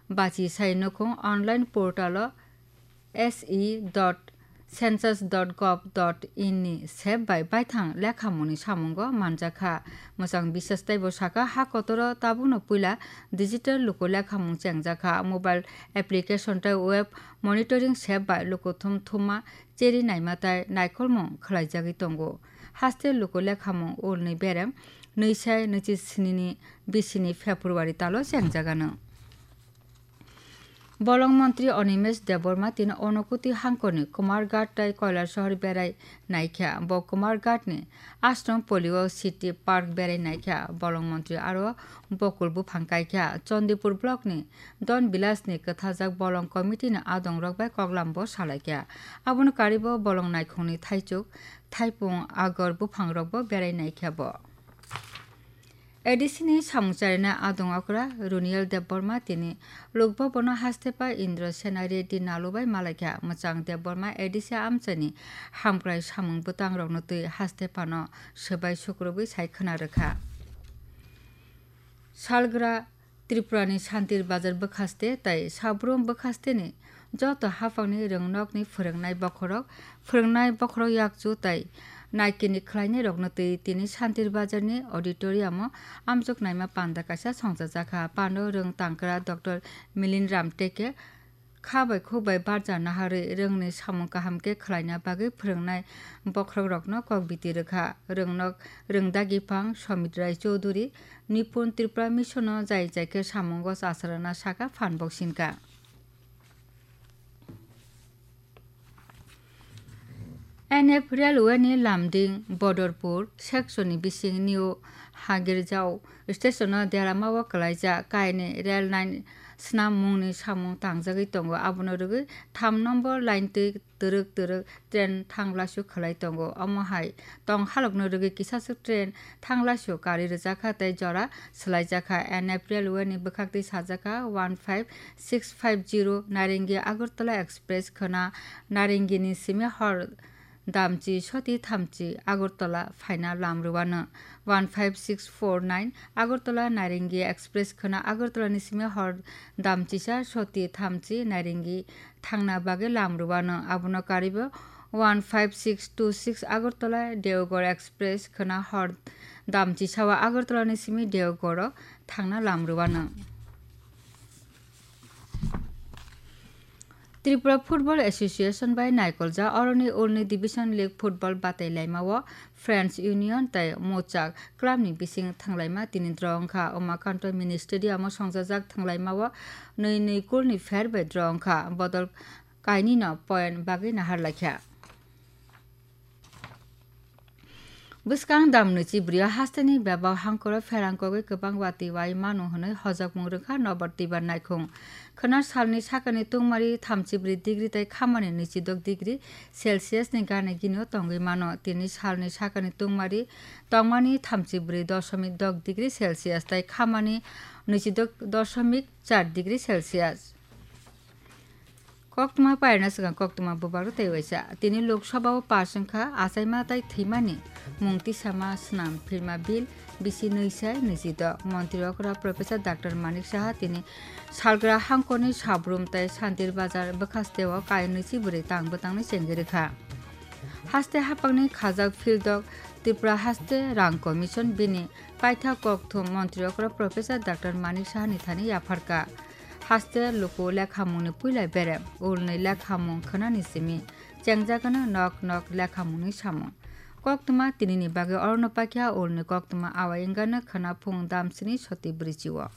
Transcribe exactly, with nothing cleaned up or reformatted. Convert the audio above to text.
bachi sai nukhung online portal o S E dot census dot gov dot in ni sep bai baithang lekhamungni samungo manjakha. Mwchang bisas teibo sakha, ha kotoro tabukno puila digital luku lekhamung chengjakha. Mobile application tei web monitoring sep bai lukuthum thumma cheri naima tei naikolmung khwlaijagwi tongo. Haste luku lekhamung ulni berem nwi sai nwichi sni ni bisini February talo chengjagano. Bolong montri Animesh Debbarma tini Onokuti hangkorni Kumarghat tei Kailasahar berai naikha. Bo Kumarghatni Ashram Polio City Park berai naikha. Bolong montri aro bokul buphang kaikha. Chandipur blockni Don Vilasni kwthajak bolong committee-ni adongrok bai koklambo salaikha. Abono karibo bolong naikhungni thaichuk, thaipung, agor buphangrokbo berai naikha bo. A D C ni samung charina adong okra Runiel Debbarma tini Lok Bhavan o haste pa Indra Sena Reddy nalubai malaikha. Mwchang Debbarma A D C amchaini hamkrai samung bwtang rokno twi haste phano swbai sukrubwi sai khwna rwkha. Salgra Tripura ni Santir Bazar bwkhaste tei Sabrum bwkhasteni joto haphangni rwngnokni phwrwngnai bokhorok, phwrwngnai bokhorok yakchu tei naikini khwlainairokno twi tini Santir Bazarni auditorium-o amjok naima panda kaisa songchajakha. Pando rwng tangkra Doctor Milin Ram Teke kha bai khuk bai barja naharwi rwngni samung kaham khe khwlaina bagwi phwrwngnai bokhorokrokno kok biti rwkha. Rwngnok Rwngdagiphang Somit Rai Chowdhury, Nipun Tripura Mission-o jai jai khe samungo chacharana saka phan boksinka. N F Railway ni Lumding Bodorpur section ni bising New Hagirjao station o Derama o kwlaijak kaini rail line snam mungni samung tangjagwi tongo. Abono rwgwi tham nombor line twi twrwk twrwk train thanglasu khwlai tongo. Omo hai tong halokno rwgwi kisaswk train thanglasu kari rwjakha tei jora swlaijakha. N F Railway ni bwkhaktwi sajakha one five six five zero Narengi Agartala Express khwna Narengini simi hor damchi soti thamchi Agartala phaina lam rwano. One five six four nine Agartala Narengi Express khwna Agartala ni simi hor damchisa soti thamchi Narengi thangna bagwi lam rwano. Abono karibo one five six two six Agartala Deoghor Express khwna hor damchisao Agartala ni simi Deoghor o thangna lam rwano. Tripura Football Association bai naikoljak oroni ulni Division League football batai laimao Friends Union tei Mochak club ni bising thanglaima tini draw wngkha. Umakanto Mini Stadium o songjajak thanglaimao nwi nwi goal ni fair bai draw wngkha. Bodol kainwi no point bagwi nahar laikha. Bwskang dam nwichi bwrwi o hasteni bebak hangkoro pherang kogwi kwbang watwi wai mano hwnwi hojakmung rwkha Nobor Tibar naikhung. Khwna salni sakani tungmari thamchi bwrwi degree tei khamani nwichi dok degree Celsius ni gana gini o tongwi mano. Tini salni sakani tungmari tongmani thamchi bwrwi doshomik dok degree Celsius tei khamani nwichi dok doshomik char degree Celsius. Koktwma pairwna swkang koktwma bubak tei waisa. Tini Lok Sabha o pass wngkha achaima tei thwimani mung tisama swnam phirma bill bisi nwi sai nwichi dok. Montri okra Professor Doctor Manik Saha tini salgra hangkorni Sabrum tei Santir Bazar bwkhaste o kai nwichi bwrwi tang bwtangni chengwi rwkha. Haste haphangni khajak field o Tripura Haste Rang Commission bini paitha kokthum montri okra Professor Doctor Manik Sahani thani yapharkha. Haste luku lekhamungni puila berem, ulni lekhamung khwnani simi, chengjagano nok nok lekhamungni samung. Koktwma tinini bagwi orono pakya ulni koktwma awai wngano khwna phung damsini soti bwrwichio.